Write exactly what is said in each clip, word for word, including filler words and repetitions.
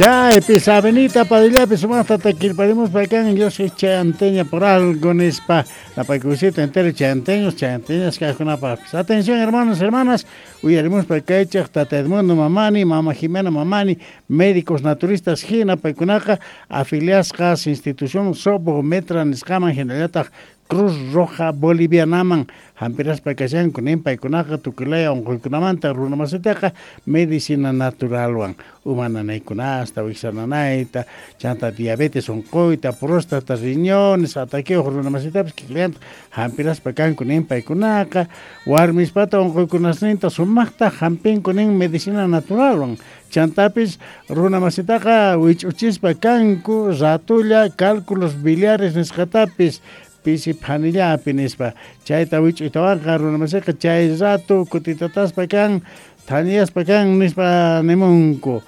Chaypis Avenida Padillapi sumaqta takirparimuspa kan yo soy chayanteña por algo nispa napaykusita entero chayanteños chayanteñas kajkunapaqpis. Atención hermanos, hermanas, uyarimuspa kaychaq Tata Edmundo Mamani, Mama Jimena Mamani, médicos naturistas hina paykunaqa afiliasqas institución Sobometra nisqaman hinallataq Cruz Roja Bolivianaman hampiraspa kashanku nin paykunaqa tukuylaya unquykunamanta runamasitaqa medicina naturalwan uma nanaykunasta wiksa nanayta chanta diabetes unquyta próstata riñones ataqueoj runamasitapis kikillanta hampiraspa kanku nin paykunaqa warmispata unquykunasninta sumaqta hampinku nin medicina naturalwan chantapis runamasitaqa wich'uchispa kanku ratulla cálculos biliares nisqatapis pisi phanillapi nispa chayta wich'uytawanqa runamasiqa chay rato kutitataspa kan thaniyaspa kan nispa nimunku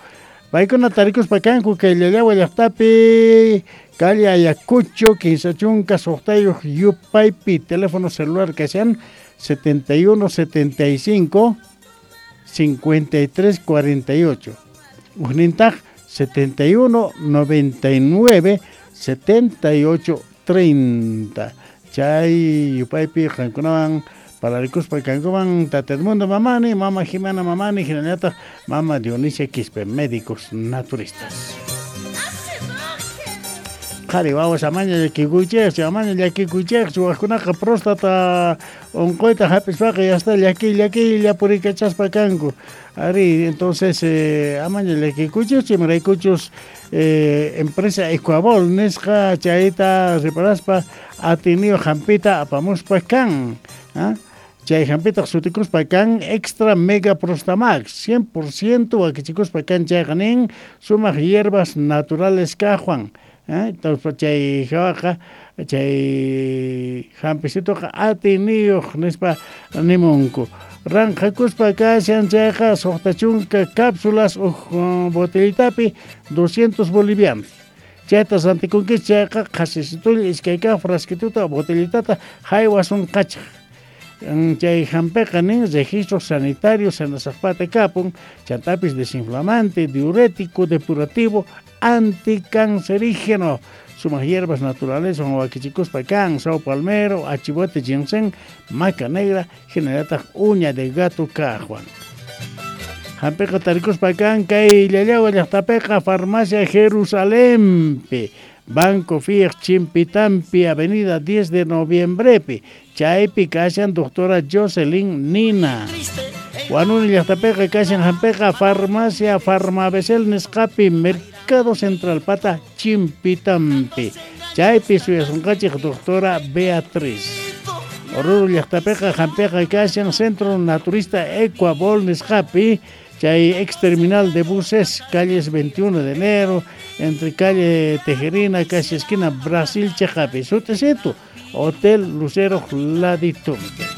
paykuna tarikuspa kanku kay Llallawa llaqtapi calle Ayacucho kinsa chunka suqtayuq yupaypi teléfono celular kashan setenta y uno setenta y cinco cincuenta y tres cuarenta y ocho ujnintaq setenta y uno noventa y nueve setenta y ocho treinta chay yupaypi qankunawan pararikuspa kankuman Tata Edmundo Mamani, Mama Jimena Mamani, hinallataq Mama Dionisia Quispe, médicos naturistas. Qhari wawas amaña llakikuychikchu, amaña llakikuychikchu, wajkunaqa próstata unquyta hap'ispaqa yasta llakiy llakiylla purikachaspa kanku. Ari, entonces eh, amaña llakikuychikchu, imaraykuchus eh, empresa Ecuabol nisqa chayta reparaspa atiniyuq hampita apamuspa kan. ¿Ah? Chay hampitaq sutikuspa kan Extra Mega Prostamax cien por ciento wakichikuspa kan chayqa nin sumaq hierbas naturales kajwan. ¿Eh? Entonces chay hawaqa chay hampisituqa atiniyuq nispa nimunku. Ranqakuspa kashan chayqa suqta chunka cápsulas uj botellitapi doscientos bolivianos. Chayta rantikunkichik chayqa qhasisitulla iskay kaq frasquituta botellitata haywasunqachaq. Chay hampiqa nin registro sanitario sanasaqpata kapun chantapis desinflamante, diurético, depurativo, anticancerígeno. Sumaq hierbas naturales son wakichikuspa kan, sao palmero, achibote ginseng, maca negra, hinallataq uña de gato kajwan. Hampiqa tarikuspa kan kay Llallawa llaqtapiqa Farmacia Jerusalempi, Banco Fiat Chimpitampi, Avenida diez de Noviembrepi, chaypi kashan doctora Jocelyn Nina. Huanuni llaqtapiqa kashan hampiqa Farmacia Farmabesel nisqapi, Mercado Central pata Chimpitampi, chaypi suyasunqachik doctora Beatriz. Oruro llaqtapiqa hampiqa kashan Centro Naturista Ecuabol nisqapi, chay ex terminal de buses, calles veintiuno de enero, entre calle Tejerina, casi esquina Brasil Chejapi, sutecito, Hotel Lucero Laditumbe.